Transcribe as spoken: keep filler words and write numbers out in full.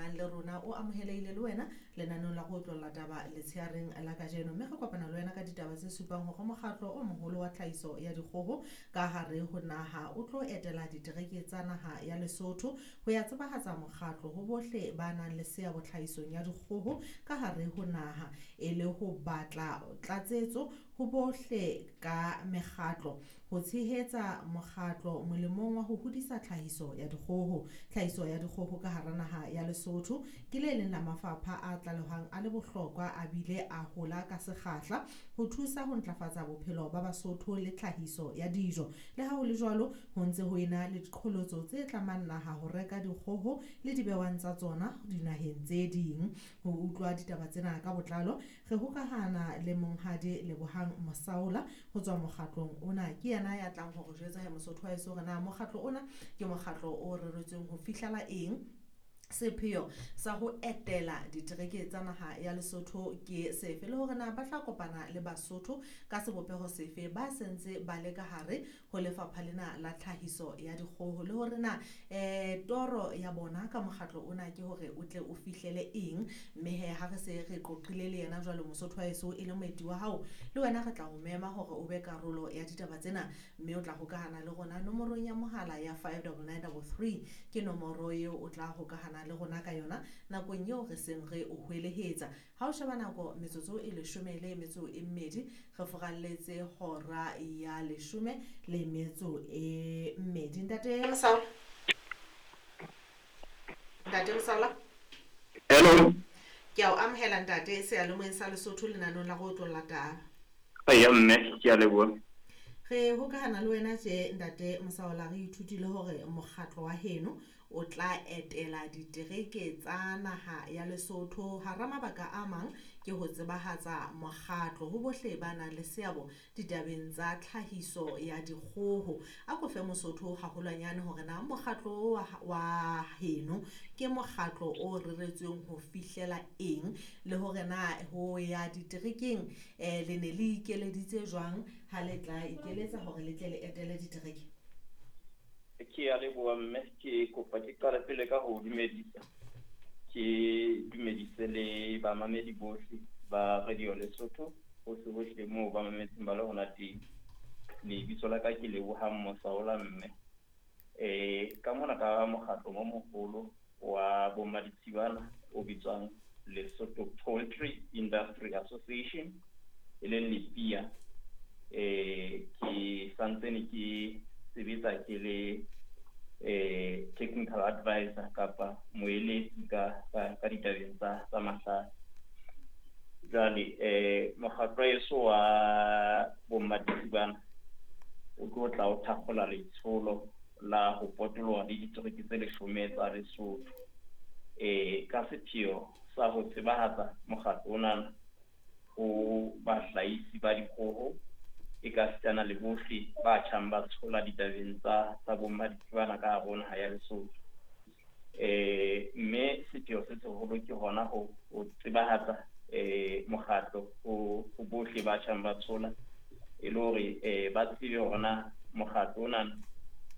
hokahanang le rona o amohelehile le wena lenaneong la go otlolla taba letsheareng la kajeno. Mme re kopana le wena ka ditaba tse supang hore mokgatlo o moholo wa tlhahiso ya dikgoho ka hare ho naha o tlo etela ditereke tsa naha ya Lesotho ho ya tsebahatsa mokgatlo ho bohle ba nang le seabo tlhahisong ya dikgoho ka hare ho naha, e le ho batla tlatsetso ho bohle ka mekgatlo ho tshehetsa mokgatlo molemong wa ho hodisa tlhahiso ya dikgoho. Tlhahiso ya dikgoho ka hara naha ya Lesotho ke le leng la mafapha a tlalehwang a le bohlokwa a bile a hola ka sekgahla ho thusa ho ntlafatsa bophelo ba Basotho le tlhahiso ya dijo. Le ha ho le jwalo, ho ntse ho ena le diqholotso tse tlamang naha ho reka dikgoho le dibewang tsa tsona dinaheng tse ding. Ho utlwa ditaba tsena ka botlalo, re hokahana le monghadi Lebohang Mosaola ho tswa mokgatlong ona. Ke yena ya tlang hore jwetsa he Mosotho wa heso hore na mokgatlo ona ke mokgatlo o reretsweng ho fihlela eng, sepheo sa ho etela ditereke tsa naha ya Lesotho ke sefe, le hore na ba tla kopana le Basotho ka sebopeho sefe ba sentse ba le ka hare ho lefapha lena la tlhahiso ya dikgoho, le hore na eh toro ya bona ka mokgatlo ona ke hore o tle o fihlele eng. Mme he ha re se re qoqile le yena jwalo Mosotho wa heso e le moeti wa hao, le wena re tla o mema hore o be karolo ya ditaba tsena, mme o tla hokahana le rona nomorong ya mohala ya five double nine double three. Ke nomoro eo o tla hokahana le rona ka yona nakong eo re seng re o hwelehetsa. Ha o sheba nako metsotso e leshome le metso e mmedi, re furalletse hora ya leshome le metso e mmedi. Ntate Mosaola, Ntate Mosaola, Hello. Ke a o amohela ntate seyalemoyeng sa Lesotho lenaneong la go otlolla taba. Eya mme, ke a leboha. Re hokahana le wena tje ntate Mosaola, re ithutile hore mokgatlo wa heno o tla etela ditereke tsa naha ya Lesotho. Hara mabaka a mang ke ho tsebahatsa mokgatlo ho bohle ba nang le seabo ditabeng tsa tlhahiso ya dikgoho. A ko fe Mosotho haholwanyane hore na mokgatlo wa, wa heno ke mokgatlo o reretsweng ho fihlela eng, le hore na ho ya diterekeng eh le ne le ikeleditse jwang ha le tla ikeletsa hore le tle le etele ditereke? Ke a leboha mme, ke kopa ke qale pele ka ho dumedisa. Ke dumedise le bamamedi bohle ba Radio Lesotho hohle hohle moo ba mametseng ba le hona teng. Lebitso la ka ke Lebohang Mosaola mme. Eh ka mona ka mokgatlo o moholo wa bommaditshibana o bitswang Lesotho Poultry Industry Association, e leng LEPIA. Eh ke santsane ke sebetsa ke le eh technical advisor kapa moeletsi ka, ka, ka ditabeng tsa, tsa mahlale. Jwale eh mokgatlo eso wa bommaditshibana o tlo tla o thakgola letsholo la ho potoloha le ditereke tse leshome tsa Lesotho, eh ka sepheo sa ho tsebahatsa mokgatlo ona ho bahlahisi ba dikgoho e ka sitana le bohle ba tjhang ba tshola ditabeng tsa, tsa bommaditshibana ka hare ho naha ya Lesotho. Eh mme sepheo se seholo ke hona ho, ho tsebahatsa eh mokgatlo ho, ho bohle ba tjhang ba tshola, e le hore eh ba tsebe hore na mokgatlo ona